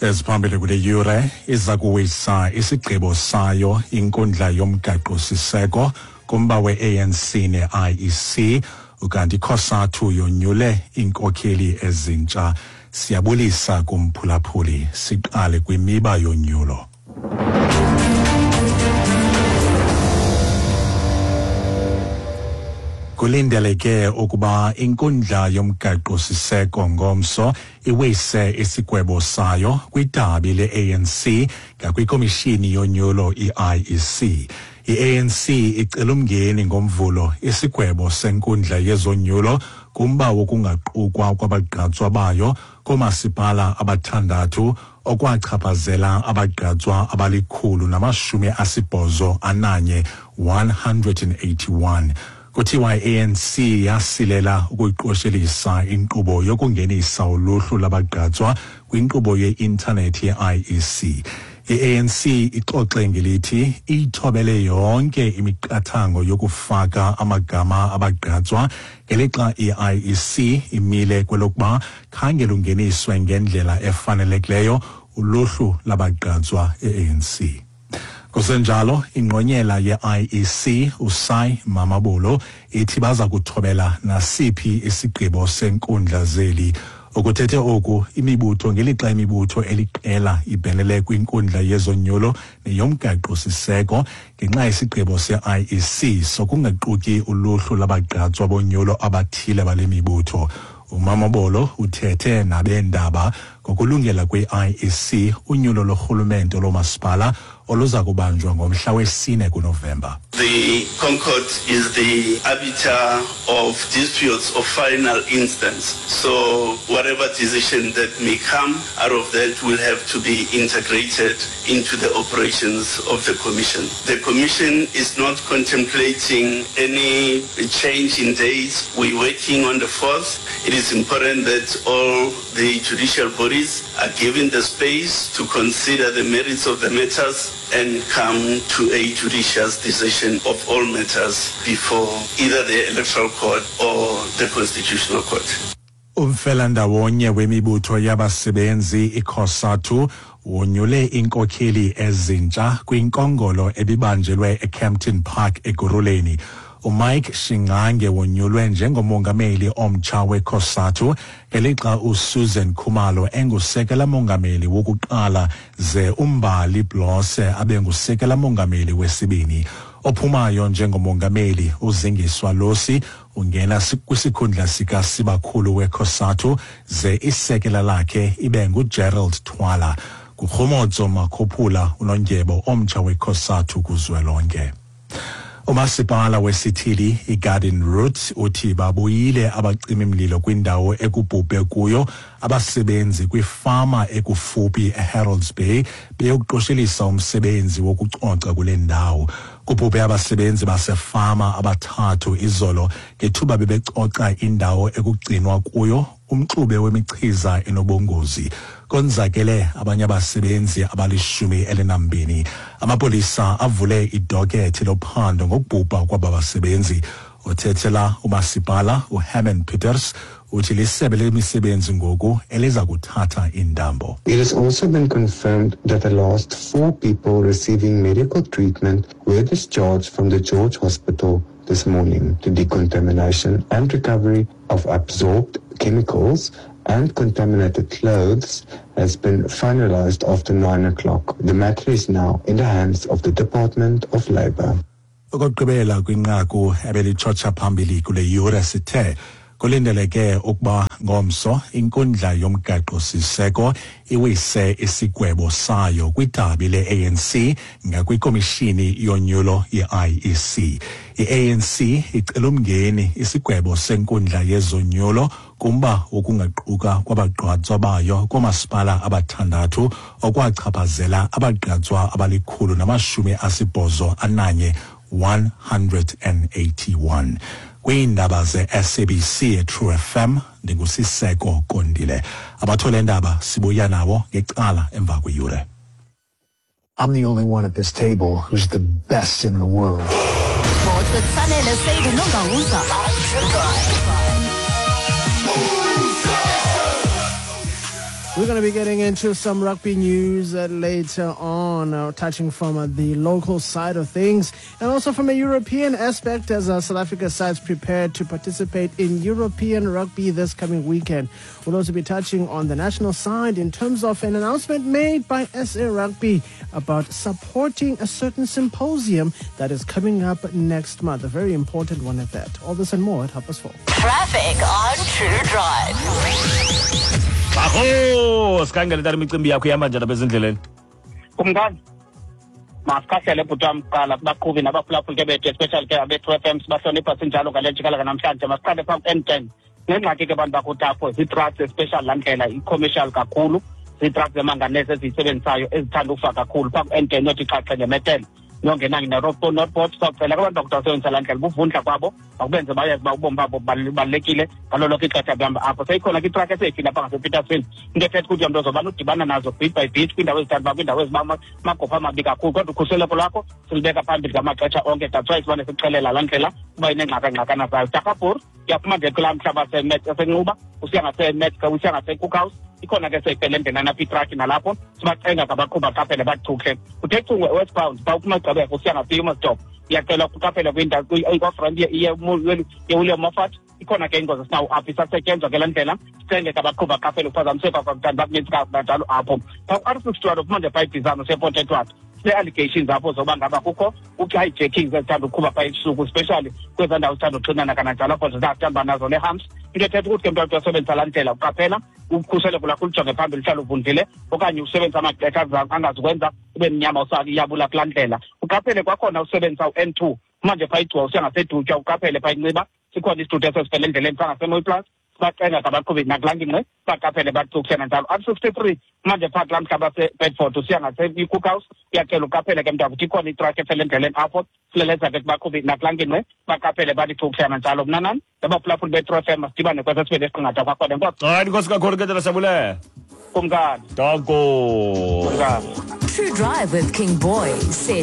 Eziphambili kule yure: iza kuwisa isigqibo sayo inkundla yomgaqo-siseko kumba we-ANC ne-IEC, ukanti iCOSATU yonyule iinkokheli ezintsha. Siyabulisa kumphulaphuli. Siqale kwimiba yonyulo. Kulindeleke ukuba inkundla yomgaqo-siseko ngomso iwise isigwebo sayo kwidabi le-ANC ngakwikomishini yonyulo i-IEC. I-ANC icela umngeni ngoMvulo isigwebo senkundla yezonyulo kumba wokungaqukwa kwabagqatswa bayo koomasipala abathandathu, okwachaphazela abagqatswa abali-181, 181. Kuthiwa i-ANC yasilela ukuyiqoshelisa inkqubo yokungenisa uluhlu labagqatswa kwinkqubo ye-intanethi ye-IEC. I-ANC ixoxe ngelithi iyithobele yonke imiqathango yokufaka amagama abagqatswa, ngelixa i-IEC imile kwelokuba khange lungeniswe ngendlela efanelekileyo uluhlu labagqatswa e-ANC. Kusenjalo, ingqonyela ye-IEC uSy Mamabolo ithi baza kuthobela nasiphi isigqibo senkundla zeli. Ukuthethe oku imibutho ngelixa imibutho eliqela ibhenele kwinkundla yezonyulo neyomgaqo-siseko ngenxa yesigqibo se-IEC sokungaquki uluhlu labagqatswa bonyulo abathile bale mibutho. UMamabolo uthethe nabeendaba ngokulungela kwe-IEC unyulo lorhulumente loomasipala oluza kubanjwa ngomhla we-4 kuNovemba. The Concourt is the arbiter of disputes of final instance. So whatever decision that may come out of that will have to be integrated into the operations of the Commission. The Commission is not contemplating any change in dates. We're working on the 4th. It is important that all the judicial bodies are given the space to consider the merits of the matters and come to a judicious decision of all matters before either the Electoral Court or the Constitutional Court. Umfelandawonye wemibutho yabasebenzi iCOSATU wonyule iinkokheli ezintsha kwinkongolo ebibanjelwe eKempton Park Ekurhuleni. UMike Shingange wonyulwe njengomongameli omtsha weCOSATU, ngelixa uSusan Khumalo engusekela mongameli wokuqala, ze uMbali Blose abe ngusekela mongameli wesibini. Ophumayo njengomongameli uZingiswa Losi ungena kwisikhundla sikasibakhulu weCOSATU, ze isekela lakhe ibe nguGerald Twala. Kukhomotso Makhuphula unondyebo omtsha weCOSATU kuzwelonke. Umasipala wesithili iGarden Route uthi babuyile abacimi-mlilo kwindawo ekubhubhe kuyo abasebenzi kwifama ekufuphi eHerolds Bay beyokuqoshelisa umsebenzi wokucoca kule ndawo. Kubhubhe abasebenzi basefama abathathu izolo ngethuba bebecoca indawo ekugcinwa kuyo umxube wemichiza enobungozi. Konzakele abanye abasebenzi abali-12. Amapolisa avule idokethi lophando ngokubhubha kwaba basebenzi. Othethela umasipala uHerman Peters uthi lisebe lemisebenzi ngoku eliza kuthatha intambo. It has also been confirmed that the last four people receiving medical treatment were discharged from the George Hospital this morning. The decontamination and recovery of absorbed chemicals and contaminated clothes has been finalized after 9 o'clock. The matter is now in the hands of the Department of Labour. Okokugqibela kwinqaku ebelitshotsha phambili kule yure, sithe kulindeleke ukuba ngomso inkundla yomgaqo-siseko iwise isigwebo sayo kwidabi le-ANC ngakwikomishini yonyulo ye-IEC. I-ANC icela umngeni isigwebo senkundla yezonyulo kumba wokungaquka kwabagqatswa bayo koomasipala abathandathu, okwachaphazela abagqatswa abali-181, 181. Kwiindaba ze-SABC True FM, ndinguSiseko Kondile. Abathole ndaba sibuya nawo ngecala emva kweyure. I'm the only one at this table who's the best in the world. Sports with Sanele Seydu Nongawuza. We're going to be getting into some rugby news later on, touching from the local side of things and also from a European aspect as South Africa sides prepare to participate in European rugby this coming weekend. We'll also be touching on the national side in terms of an announcement made by SA Rugby about supporting a certain symposium that is coming up next month, a very important one at that. All this and more at 4:30. Traffic on True Drive. Aho, sikhangele tata imicimbi yakho ihamba njani apha ezindleleni? Kumkani, masikhahlele bhuti wam kuqala kubaqhubi nabaphulaphuli ke bethu, especially ke abe-True FM, sibahlonipha sinjalo ngale njikalaka namhlanje. Masiqale phaa ku-N10. Nengxaki ke bantu bakuthi apho zii-trucks, especially laa ndlela i-commercial kakhulu, zii-trucks zemanganese eziyisebenzisayo ezithanda ufa kakhulu phaa ku-N10 yothi xhaxhe ngemetele nongena ne-Northport. Sawucela ke abantu bakuthi basebenzisa laa ndlela, buvundla kwabo makubenze bayazi uba ubomi babo bubalulekile ngalo lonke ixesha behamba apho. Seyikhona ke itruck eseyifile apha ngasePetersfield, into ethetha ukuthi mntu ozobana udibana nazo bit by bit kwiindawo ezithanda uba kwiindawo ezimagopha amabi kakhulu, kodwa ukhuseleko lwakho silubeka phambili ngamaxesha onke. That's why sibane sikuxelela laa ndlela uba ineengxakangxakana zayo. Dakabur uyaphuma nje kulaa mhlaba seNcuba usiya ngaseMet, usiya ngaseCookhouse, ikhona ke seyifele endleleni apha itraki, nalapho sibacenga ngabaqhuba baqaphele bachuhle. Uthe cungwe westbound phaa uphuma usiya ngaseHumansdorp, uyacelwa uqaphele kwindawo i-off-ramp ye-William Moffat, ikhona ke ingozi esinawo apho isasetyenzwa ke laa ndlela. Sicenge ke abaqhuba baqaphele uphazamiseka kwakuthanda bakunintsi kanjalo apho. Phaa ku-R61 uphuma nje phaa eBizana usiya ePort Edward, sine-allegations apho zoba ngaba kukho u-hijackings ezithanda uqhuba phaa ebusuku, especially kwezaa ndawo zithanda uxinana kananjalo apho zithanda uba nazo nee-humps. Into ethetha ukuthi ke mntu osebenzisa laa ndlela uqaphela ukhuseleko lwakho ulijonge phambili, uhlale uvundlile okanye usebenzisa amaxesha angazukwenza ube mnyama usayabula kulaa ndlela. Uqaphele kwakhona usebenzisa u-N2 manje phaa iGcuwa usiya ngaseDutywa, uqaphele phaa iNciba, sikhona isithuthi esesifele endleleni phaa ngaseMooiplaas, sibacenga ngabaqhubi nakulaa ngingqi baqaphele bacukushena njalo. R63 manje phaa kulaa mhlaba seBedford usiya ngase-Cookhouse, uyacela uqaphele ke mntakuthi ikhona itruck efele endleleni apho, sileleza ke kubaqhubi nakulaa ngingqi baqaphele balicukushena njalo. Mna nani nabaphulaphuli be-True FM, masidibane kwesesibini esiqingatha kwakhona. Enkosi. Hayi, inkosi kakhulu ke tata, siyabulela. Kumkani. Danko. Kumkani. True Drive with King Boy, set